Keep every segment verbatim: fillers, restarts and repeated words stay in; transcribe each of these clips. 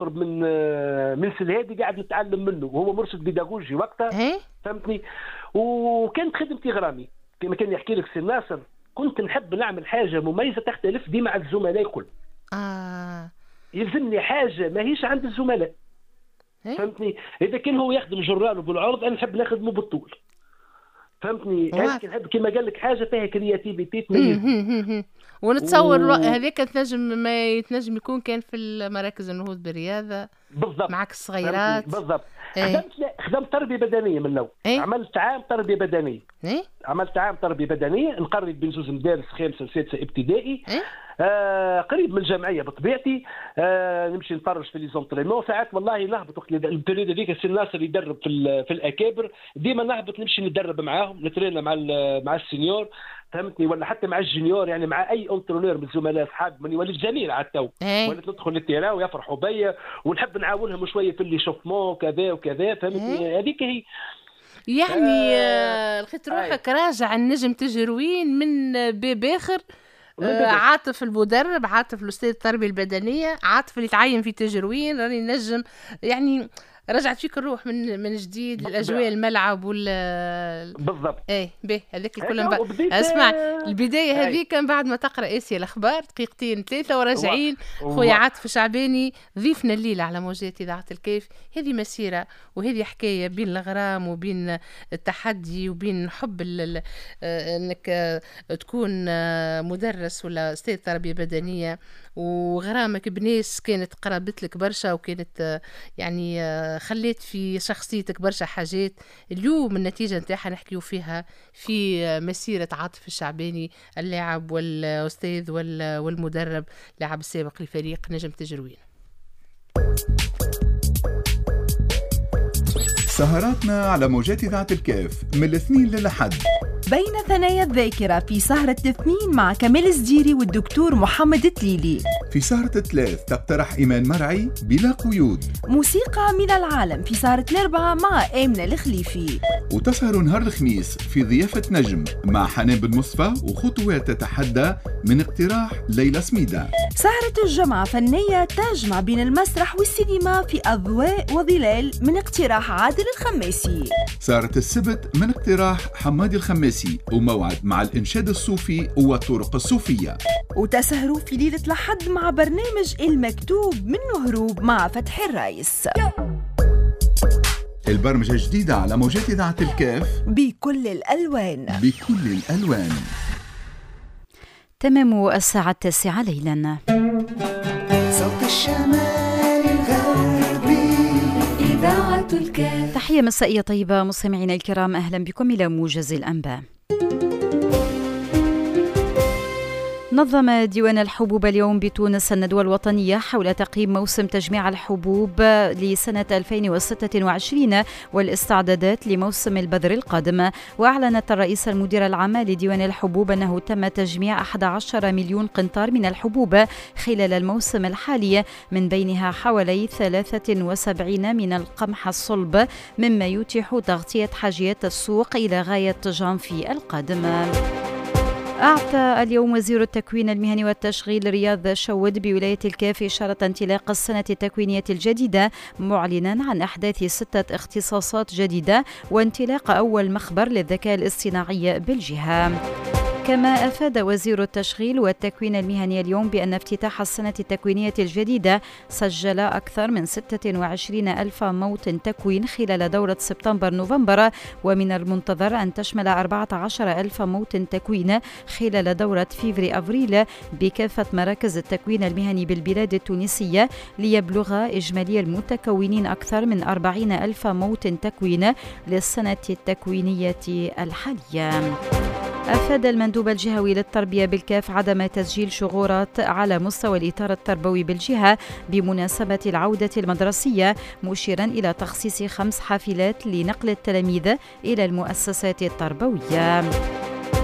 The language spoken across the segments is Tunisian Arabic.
من من سلهادي قاعد نتعلم منه، وهو مرشد بيداغوجي وقتها. فهمتني؟ وكانت خدمتي غرامي كما كان يحكي لك سي ناصر، كنت نحب نعمل حاجة مميزة تختلف ديما على الزملاء الكل. اه يلزمني حاجة ماهيش عند الزملاء. فهمتني؟ اذا كان هو يخدم journal بالعرض، انا نحب نخدمه بالطول. فهمتني؟ انا نحب كما قال لك حاجة فيها créativité تميز. ونتصور و... هذاك تنجم ما يتنجم يكون كان في المراكز النهوض بالرياضة. بالضبط، معك الصغيرات. بالضبط. ايه؟ خدمت لا خدمت تربيه بدنية من الاول. ايه؟ عملت عام تربيه بدنية. ايه؟ عملت عام تربيه بدنية نقرب بين زوز مدارس، خامسة وسادسه ابتدائي. ايه؟ آه قريب من الجمعية بطبيعتي. آه نمشي نتفرج في les entraînements ساعات، والله نهبط وقت ال période هذيك سي الناصر يدرب في في الاكابر، ديما نهبط نمشي ندرب معاهم، نترينا مع مع ال seniors، فهمتني، ولا حتى مع ال juniors، يعني مع اي entraîneur من الزملاء اصحاب من وليت زميل على التو. ايه؟ وليت ندخل لل terrain ويفرحوا بيا، ونحب نعاونهم شوية في l'échauffement كذا وكذا. فهمتني؟ هذيك هي يعني. آه لقيت روحك راجع النجم تجروين من باب اخر. آه عاطف المدرب، عاطف الاستاذ التربية البدنية، عاطف اللي تعين في تجروين، راني نجم يعني رجعت فيك الروح من من جديد للاجواء الملعب وال بالضبط. ايه به هذاك الكل. من اسمع البداية هذيك من بعد ما تقرا اسيا الاخبار دقيقتين ثلاثة وراجعين. خويا عاطف الشعباني ضيفنا الليلة على موجات اذاعة الكيف. هذه مسيره وهذه حكاية بين الغرام وبين التحدي وبين حب ال انك تكون مدرس ولا استاذ تربيه بدنية، وغرامك بناس كانت قربت لك برشا وكانت يعني خليت في شخصيتك برشا حاجات. اليوم النتيجة نتاعها نحكيو فيها في مسيرة عاطف الشعباني اللاعب والأستاذ والمدرب، لاعب السابق لفريق نجم تجروين. سهراتنا على موجات إذاعة الكاف من الاثنين للأحد بين ثنايا الذاكرة في سهرة الاثنين مع كمال الزديري والدكتور محمد تليلي. في سهرة الثلاث تقترح إيمان مرعي بلا قيود. موسيقى من العالم في سهرة الأربعة مع آمنة الخليفي. وتسهر نهار الخميس في ضيافة نجم مع حنان بن مصطفى وخطوات تتحدى من اقتراح ليلى سميدة. سهرة الجمعة فنية تجمع بين المسرح والسينما في أضواء وظلال من اقتراح عادل الخماسي. سهرة السبت من اقتراح حمادي الخماسي وموعد مع الإنشاد الصوفي والطرق الصوفية. وتسهروا في ليلة الأحد مع برنامج المكتوب من هروب مع فتح الرايس. البرمجة الجديدة على موجات إذاعة الكاف بكل الألوان، بكل الألوان. تمام الساعة التاسعة ليلا. صوت الشمال الغربي إذاعة الكاف. تحية مسائية طيبة مستمعينا الكرام، أهلا بكم إلى موجز الأنباء. نظم ديوان الحبوب اليوم بتونس الندوة الوطنية حول تقييم موسم تجميع الحبوب لسنة ألفين وستة وعشرين والاستعدادات لموسم البذر القادم. وأعلنت الرئيس المدير العام لديوان الحبوب أنه تم تجميع أحد عشر مليون قنطار من الحبوب خلال الموسم الحالي، من بينها حوالي ثلاثة وسبعين من القمح الصلب، مما يتيح تغطية حاجيات السوق إلى غاية جانفي القادم. أعطى اليوم وزير التكوين المهني والتشغيل رياض شود بولاية الكاف إشارة انطلاق السنة التكوينية الجديدة، معلنا عن أحداث ستة اختصاصات جديدة وانطلاق أول مخبر للذكاء الاصطناعي بالجهة. كما أفاد وزير التشغيل والتكوين المهني اليوم بأن افتتاح السنة التكوينية الجديدة سجل أكثر من ستة وعشرين ألف موطن تكوين خلال دورة سبتمبر نوفمبر، ومن المنتظر أن تشمل أربعة عشر ألف موطن تكوين خلال دورة فيفري أفريل بكافة مراكز التكوين المهني بالبلاد التونسية، ليبلغ إجمالي المتكونين أكثر من أربعين ألف موطن تكوين للسنة التكوينية الحالية. أفاد المندوب الجهوي للتربية بالكاف عدم تسجيل شغورات على مستوى الإطار التربوي بالجهة بمناسبة العودة المدرسية، مشيرا إلى تخصيص خمس حافلات لنقل التلاميذ إلى المؤسسات التربوية.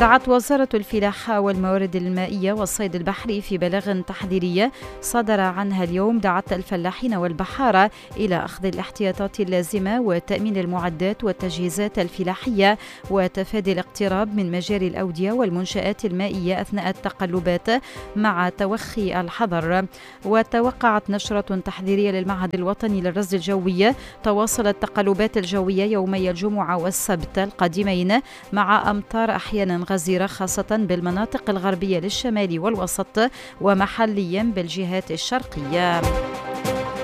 دعت وزارة الفلاحة والموارد المائية والصيد البحري في بلاغ تحذيري صدر عنها اليوم، دعت الفلاحين والبحارة إلى أخذ الاحتياطات اللازمة وتأمين المعدات والتجهيزات الفلاحية وتفادي الاقتراب من مجاري الأودية والمنشآت المائية أثناء التقلبات مع توخي الحذر. وتوقعت نشرة تحذيرية للمعهد الوطني للرصد الجوي تواصل التقلبات الجوية يومي الجمعة والسبت القادمين مع أمطار أحيانا غزيرة خاصة بالمناطق الغربية للشمال والوسط ومحليا بالجهات الشرقية.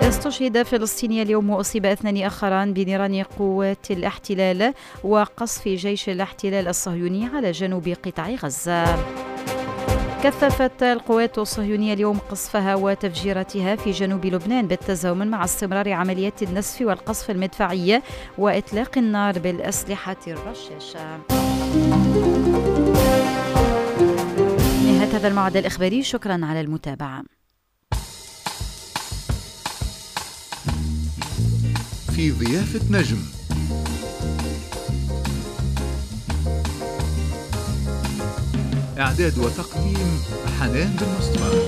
استشهد فلسطيني اليوم وأصيب اثنان آخران بنيران قوات الاحتلال وقصف جيش الاحتلال الصهيوني على جنوب قطاع غزة. كثفت القوات الصهيونية اليوم قصفها وتفجيراتها في جنوب لبنان بالتزامن مع استمرار عمليات النسف والقصف المدفعي وإطلاق النار بالأسلحة الرشاشة. نهاية هذا الموعد الإخباري، شكرا على المتابعة. في ضيافة نجم، إعداد وتقديم حنان بن مصطفى.